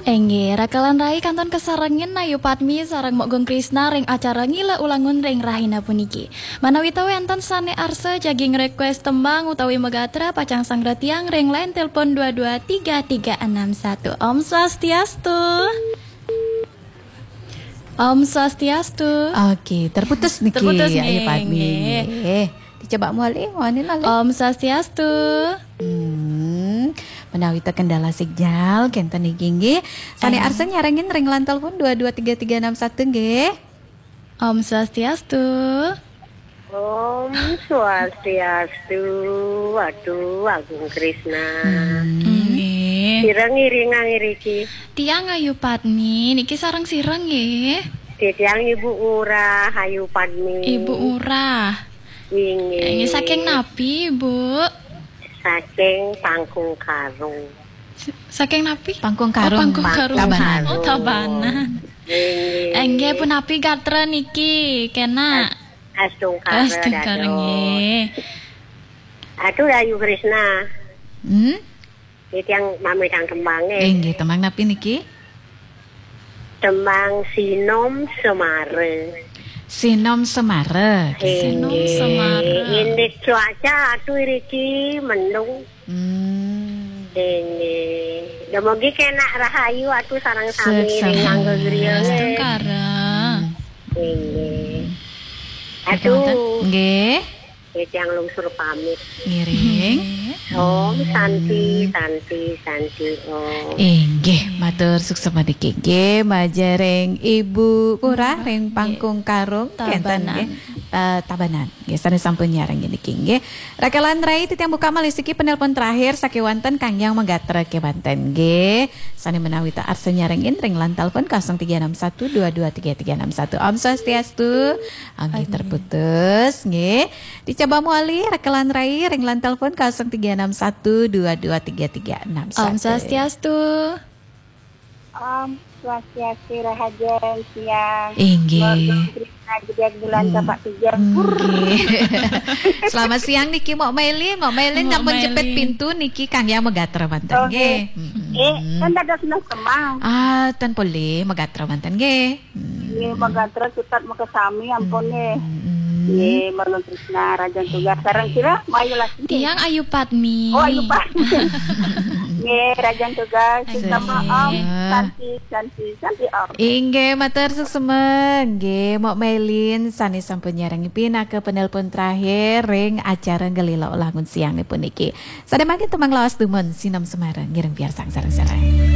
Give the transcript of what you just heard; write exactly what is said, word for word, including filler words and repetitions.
Inggih, rakelan rai kantun kasarengin Ayu Padmi sareng Mok Gung Krisna ring acara Ngila Ulangun ring rahina puniki. Manawita wenten sane arsa jagi ngrequest tembang utawi magatra, pacang sangra tiang ring line telepon dua dua tiga tiga enam satu. Om Swastiastu. Om Swastiastu. Oke, terputus niki, Terputus Ayu nggih, Padmi. Nggih. Dicoba malih, wani malih. Om Swastiastu. Hmm, menawi ta kendala signal, kenten niki nggih. Sane Em. arsa nyarengin ring line telepon dua dua tiga tiga enam satu nggih. Om Swastiastu. Om Swastiastu, Atu Agung Krisna. Hmm. Nggih. Sira ngiringang iriki? Tiang Ayu Padmi, niki sareng sira nggih? Titiang Ibu Ngurah Ayu Padmi. Ibu Ngurah. Inggih. Inggih, saking napi, Bu? Saking Pangkung Karung. S-, saking napi? Pangkung Oh, Karung. Pangkung Karung. Tabanan. Oh, Tabanan. Inggih. Inggih, punapi gatra niki, kena? As-, Astungkara, Astungkara, Datuk. Nggih. Atu Ayu Krisna. Hmm? Titiang mamitang tembang, eh. Inggih, tembang napi niki? Tembang Sinom Semara. Sinom Semara. Sinom Inggih. Semara. Indik cuaca atu iriki mendung. Hmm. Inggih. Dumugi kena rahayu atu sareng sami Sesama. Ring nganggo griya, nggih. Astungkara. Inggih. Nggih, Atu. Nggih. Nggih, tiang lungsur pamit. Ngiring. Nggih. Om Santi, Santi, Santi, Om. Inggih, matur suksma niki nggih, majeng ring Ibu Ngurah ring Nggih. Pangkung Karung, kenten Tabanan. Nggih. Eh, Tabanan. Nggih, sane sampun nyarengin niki nggih. Rakelan rai titiang buka malih siki penelpon terakhir sakewanten kangge magatra kewanten nggih. Sane menawi ta arsa nyarengin ring line telepon kosong tiga enam satu dua dua tiga tiga enam satu. Om Swastiastu. Nggih, Aduh. Terputus nggih. Dicoba malih rakelan rai ring line telepon kosong tiga enam satu dua dua tiga tiga enam satu. Om Swastiastu. Om Swastiastu, rahajeng siang. Inggih. Mok Gung Krisna Gedek Bulan Hmm. Tapak Tiga. Nggih. Selamat siang niki Mok Mailin. Mok Mailin Mok sampun jepit Mailin. Pintu niki kangge magatra manten. Oh, nggih. Nggih. Mm-mm. Eh, kan ada seneng semang. Ah, ten polih magatra manten nggih. Hmm. Nggih, magatra cutet makasami ampun nggih. Hmm. Nggih, Mok Gung Krisna rahajeng tugas. Sareng sira, Mayu Lasmi. Tiang Ayu Padmi. Oh, Ayu Padmi. Nggih, rahajeng tugas. Nggih. Sama Om Santi, Santi, Santi Om. Inggih, matur suksma. Nggih, Mok Mailin sane sampun nyarengin pinaka penelpon terakhir ring acara Ngelila Ulangun siang niki puniki. Sane mangkin tembang lawas dumun Sinom Semara ngiring piarsang sareng-sareng.